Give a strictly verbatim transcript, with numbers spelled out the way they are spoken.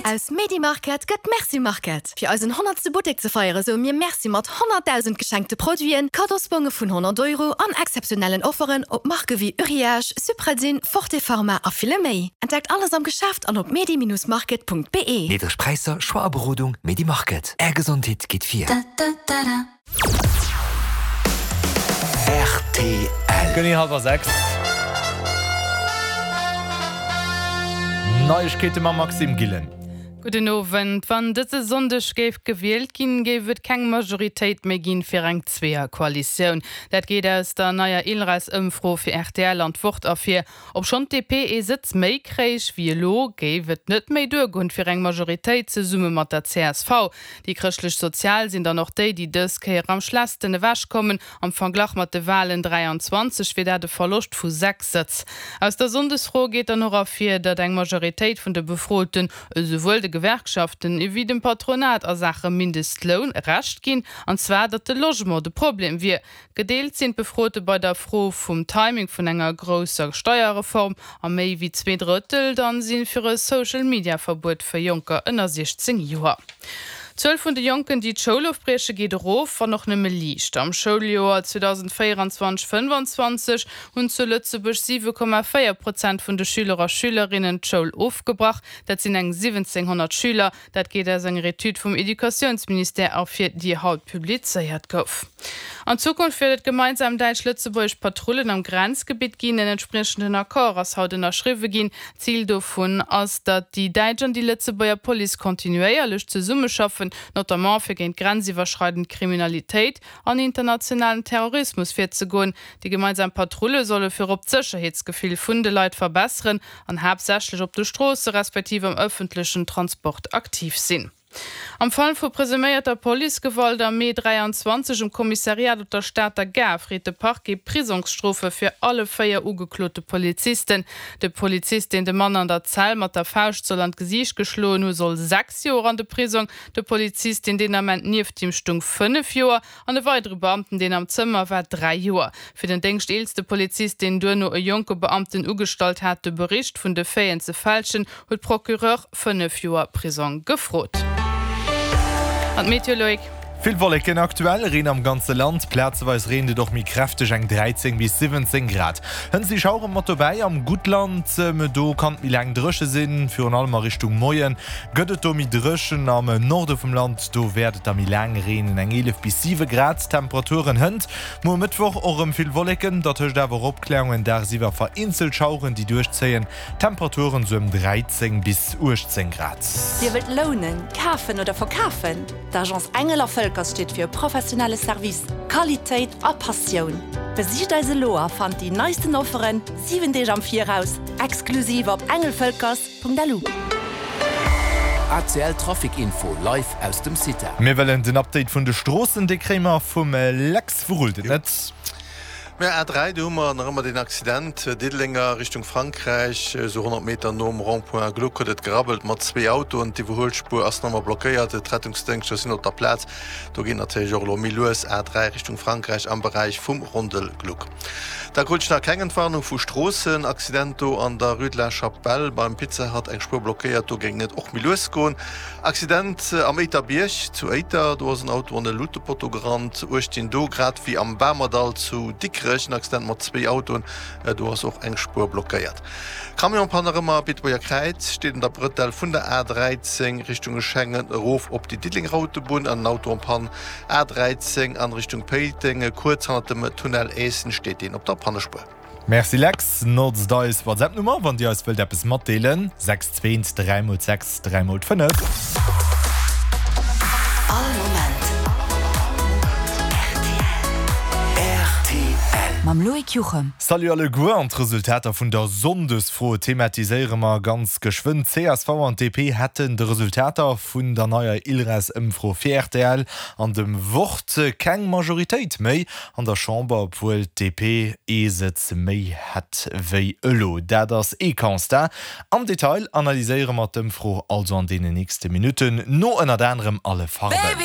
Aus Medimarket gëtt Merci Market. Fir eisen honnertste Buttek ze feiere soe mir Merci mat honnertdausend geschenkte Produiten, Kaddosbonge vun honnert Euro an exzeptionellen Offeren op Marke wéi Uriage, Supradyn, Forte Pharma a ville méi. Entdeckt alles am Geschäft an op medi-market.be. Niddreg Präisser, Choix a Berodung, Medimarket. Är Gesondheet geet vir. Rtl. Genee hallwer sechs. Neiegkeete mam Maxime Gillen. Gudden Owend. Wann dëse Sonndeg géif gewielt ginn, géif et keng Majoritéit méi ginn fir eng Zweeër-Koalitioun. Dat geet aus der neier ILReS-Ëmfro fir rtl an d'Wort ervir. Obschonn d'DP ee Sëtz méi kréich wéi elo, géif et net méi duergoen fir eng Majoritéit zesumme mat der csv. Déi Chrëschtlech-Sozial sinn dann och déi, déi dës Kéier am schlechtsten ewechkommen. Am Verglach mat de Walen dräianzwanzeg wier dat e Verloscht vu sechs Sëtz. Aus der Sonndesfro geet dann och ervir, datt eng Majoritéit vun de Befroten esouwuel de Gewerkschaften ewéi dem Patronat a Saache Mindestloun Recht ginn, an zwar datt de Logement de Problem wier. Gedeelt sinn d'Befrote bei der Fro vum Timing vun enger grousser Steierreform a méi wéi zwee Drëttel dann si fir e Social-Media-Verbuet fir Jonker ënner siechzéng Joer. D'Zuel vun de Jonken, déi d'Schoul ofbrieche geet erof, wann och nëmme liicht. Am Schouljoer zweedausendvéierundzwanzeg fënnefanzwanzeg hunn zu Lëtzebuerg siwe Komma véier Prozent vun de Schüler a Schülerinnen d'Schoul ofgebrach. Dat sinn eng siwwenzénghonnert Schüler. Dat geet aus enger Etüd vum Educatiounsministère ervir, déi haut publizéiert gouf. An Zukunft wäert et gemeinsam däitsch-lëtzebuergesch Patrullen am Grenzgebitt ginn. En entspriechenden Accord ass haut ënnerschriwwe ginn. Zil dovun ass, datt déi däitsch an déi Lëtzebuerger Police kontinuéierlech zesummeschaffen, notamment fir géint grenziwwerschreidend Kriminalitéit an internationalen Terrorismus virzegoen. Déi gemeinsam Patrulle solle virop d'Sécherheetsgefill vun de Leit verbesseren an haaptsächlech op de Stroosse respektiv am ëffentlechen Transport aktiv sinn. Am Fall vu presuméierter Policegewalt am Mee dräianzwanzeg um Kommissariat op der Stater Gare freet de Parquet Prisongsstrofe fir alle véier ugeklote Polizisten. De Polizist, deen de Mann an der Zell mat der Fauscht soll an d'Gesiicht geschloen hu, soll sechs Joer an de Prisong, de Polizist, deen deen Ament nieft him stung, fënnef Joer an e weidere Beamten, deen am Zëmmer war, dräi Joer. Fir den déngschteelste Polizist, deen duerno e jonke Beamten ugestallt hat, de Bericht vun de Faiten ze fälschen, huet d'Procureur fënnef Joer Prisong gefrot. An d'Meteo, Loïc? Vill Wolleken aktuell, Reen am ganze Land, plazeweis reent et och méi kräfteg, eng dräizéng bis siwwenzéng Grad. Hënt si Schauere mat dobäi am Guttland, do kann et méi laang dréche sinn, virun allem a Richtung Moien gëtt et do méi dréchen. Am Norde vum Land, do wäert et da méi laang reenen, eng eelef bis siwe Grad Temperaturen hënt. Muer Mëttwoch och erëm vill Wolleken, dertëscht awer och Opkläerungen, dagsiwwer vereenzelt Schaueren, déi duerchzéien. Temperaturen sou ëm dräizéng bis uechtzéng Grad. Dir wëllt lounen, kafen oder verkafen? D'Agence Engel a Völkers steet fir e professionelle Service, Qualitéit a Passioun. Besicht eis elo a fannt déi neisten Offeren siwen Deeg am Viraus, exklusiv op engelvölkers Punkt lu. A C L Trafic Info live aus dem CITA. Mir wëllen den Update vun de Stroossen, dee kréie mer vum Lex. Wou rullt et net? Mä A dräi, do hu mer nach ëmmer deen Accident, Diddeleng a Richtung Frankräich, esou honnert Meter nom Rond-point Gluck huet et gerabbelt mat zwee Autoen. D'Iwwerhuelspuer ass nach ëmmer blockéiert, d'Rettungsdéngschter sinn op der Plaz. Do geet natierlech och elo méi lues A dräi Richtung Frankräich am Beräich vum Rondel Gluck. Da krut ech nach keng Entwarnung vu Stroossen. Accident do an der Rue de la Chapelle beim Pizza Hut, eng Spuer blockéiert, do géing et och méi lues goen. Accident am Éiterbierg zu Éiter, do ass en Auto an e Lutepotto gerannt. Uecht dinn do, grad wéi am Bamerdall zu Dikrech, en Accident mat zwee Autoen, do ass och eng Spuer blockéiert. Camionspanne erëm am Beetebuerger Kräiz, steet un der Brëtell vun der A dräizéng Richtung Schengen erof op déi Diddelenger Autobunn an en Auto en Panne. A dräizéng an Richtung Péiteng, kuerz hannert dem Tunnel Aessen steet deen op der Pannespuer. Merci Lex. Notzt eis WhatsApp Nummer wann dir eis wëllt eppes matdeelen, sechs zwee eent dräi mol sechs dräi mol fënnef. All Moment rtl. Mam Loïc Juchem. Salut alleguer, an d'Resultater vun der Sonndesfro thematiséiere mer ganz geschwënn. Csv an D P hätten de Resultater vun der neier ILReS-Ëmfro fir rtl an dem Wort keng Majoritéit méi an der Chamber, obwuel d'D P ee Sëtz méi hätt wéi elo. Dat ass ee Constat. Am Detail analyséiere mer d'Ëmfro also an deenen nächste Minutten no ënnert anerem Alle Farben.